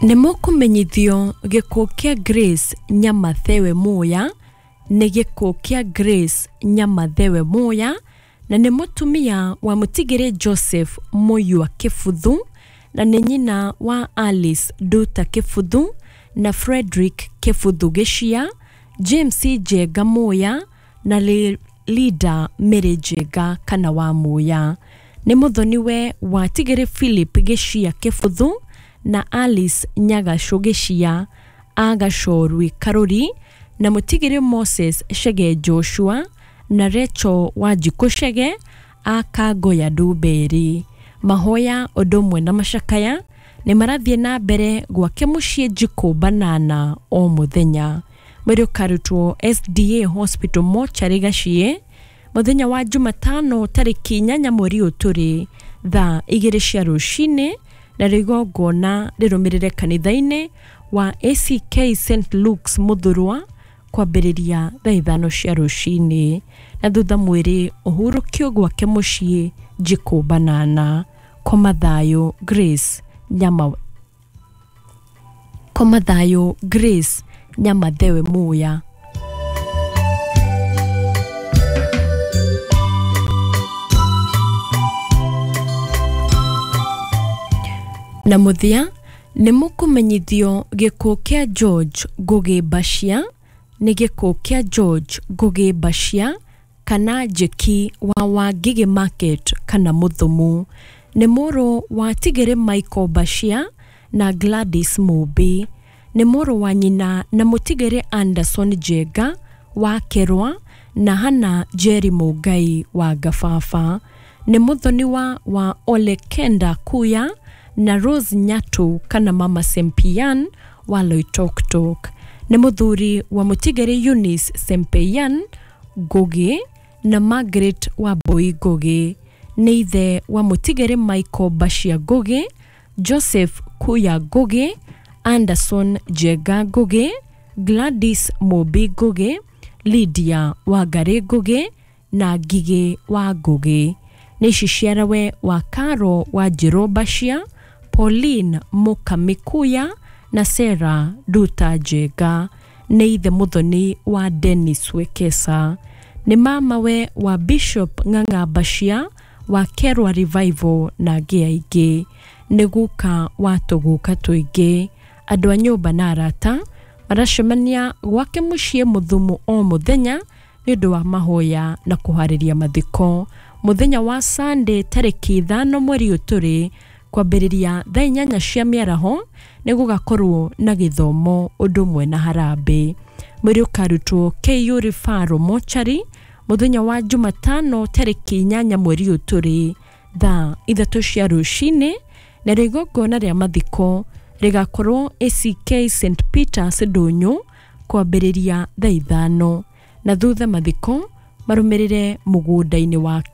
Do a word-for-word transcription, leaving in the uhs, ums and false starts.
Nĩ mũkũmenyithio gĩkuũ kĩa Grace Nyamathewe Muya nĩ gĩkuũ kĩa Grace Nyamathewe Muya na nĩ mũtumia wa mũtigĩrĩ Joseph Mũyua Kĩbuthu na nĩ nyina wa Alice Nduta Kĩbuthu na Frederick Kĩbuthu Gĩcia, James Njenga Muya na Linda Mary Njenga kana wa Muya. Nĩ mũthoniwe wa Tigĩrĩ Philip Gĩcia Kĩbuthu na Alice Nyagacũ Gĩcia a Gachorwi Karũri na mũtigĩrĩ Moses Chege Joshua na Rachel Wanjikũ Chege a Kangoya Ndumberi. Mahoya ũndũ ũmwe na macakaya nĩ marathiĩ na mbere gwake mũciĩ Njikũ Banana o mũthenya. Mwĩrĩ ũkarutwo S D A Hospital Mortuary Gaciĩ mũthenya wa Jumatano tarĩki inyanya mweri ũyũ tũrĩ thaa igĩrĩ cia rũcinĩ na igongona rĩrũmĩrĩre kanitha-inĩ wa A C K Saint Luke's Muthurwa kwambĩrĩria thaa ithano cia rũcinĩ na thutha mwĩrĩ ũhurũkio gwake mũciĩ Njikũ Banana. Koma thayũ Grace Nyama Koma thayũ Grace Nyamathewe Muya. Na mũthia nĩ mũkũmenyithio gĩkuũ kĩa George Ngugi Bashia nĩ gĩkuũ kĩa George Ngugi Bashia kana Njeki wa Wangigĩ Market kana Mũthumu. Nĩ mũrũ wa Tigĩrĩ Michael Bashia na Gladys Mumbi. Nĩ mũrũ wa nyina na mũtigĩrĩ Anderson Njenga wa Kerwa na Hannah Jerry Mũngai wa Ngababa. Nĩ mũthoniwa wa Ole Kenda Kuya na Rose Nyatu kana Mama Sempian wa Loitoktok. Nĩ mũthuri wa mũtigĩrĩ Eunice Sempeyan Ngugi na Margaret Wambui Ngugi. Nĩ ithe wa mũtigĩrĩ Michael Bashia Ngugi, Joseph Kuya Ngugi, Anderson Njenga Ngugi, Gladys Mumbi Ngugi, Lydia Wangari Ngugi na Ngigĩ wa Ngugi. Nĩ iciciarawe wa Caro wa Njirũ Bashia, Pauline Mukami Kuya na Sarah Nduta Njenga. Nĩ ithe mũthoni wa Dennis Wekesa. Nĩ mamawe wa Bishop Ng'ang'a Bashia wa Kerwa Revival na angĩ aingĩ. Nĩ guka wa tũguka tũingĩ. Andũ a nyũmba na arata maracemania gwake mũciĩ Mũthumu o mũthenya nĩ ũndũ wa mahoya na kũharĩria mathiko. Mũthenya wa Sunday tarĩki ithano mweri ũyũ tũrĩ kwambĩrĩria thaa inyanya cia mĩaraho nĩ gũgakorwo na gĩthomo ũndũ ũmwe na harambĩ. Mwĩrĩ ũkarutwo K U Referral Mortuary mũthenya wa Jumatano tarĩki inyanya mweri ũyũ tũrĩ thaa ithatũ cia rũcinĩ na igongona rĩa mathiko rĩgakorwo A C K Saint Peters Ndũnyũ kwambĩrĩria thaa ithano na thutha mathiko marũmĩrĩre mũgũnda-inĩ wake.